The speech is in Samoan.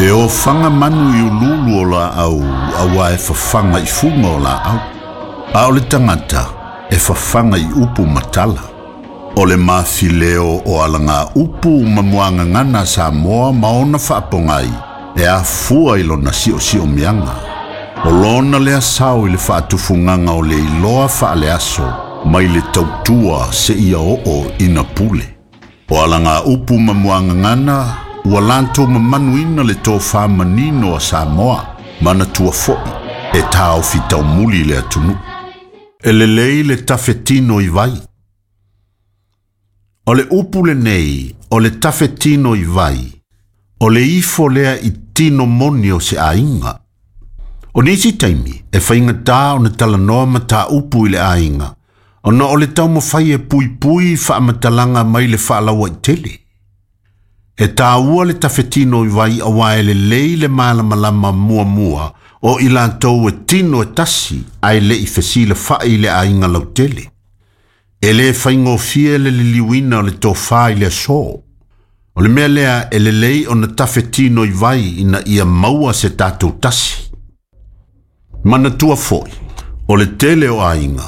E ofaga manu i uluulu o laau auā e fafaga i fuga o laau. A o le tagata e fafaga i upu ma tala. O le mafileo o alagaupu ma muagagana a Samoa ma ona faapogai e afua i lona siosiomiaga. O lona lea sao i le faatufugaga o le iloa faaleaso mai le tautua seia oo ina pule. O alagaupu ma muagagana ua latou mamanuina le tofā manino a Samoa, manatua foi e taofi taumuli le atunuu. E lelei le tafetino i vai. O le upu lenei, o le tafetino i vai, o le ifo lea i tino moni o se aiga. O nisi taimi, e faigata ona talanoa mataupu i le aiga, ona o le taumafai e puipui faamatalaga mai le faalauaitele. E tāua le tafetino i vai auā e lelei le malamalama muamua o i latou e tino e tasi ae le i fesilafa'i i le aiga lautele. E lē faigofie le liliuina o le tofā i le aso. O le mea lea e lelei ona tafetino i vai ina ia maua se tatou tasi. Manatua foi, o le tele o aiga,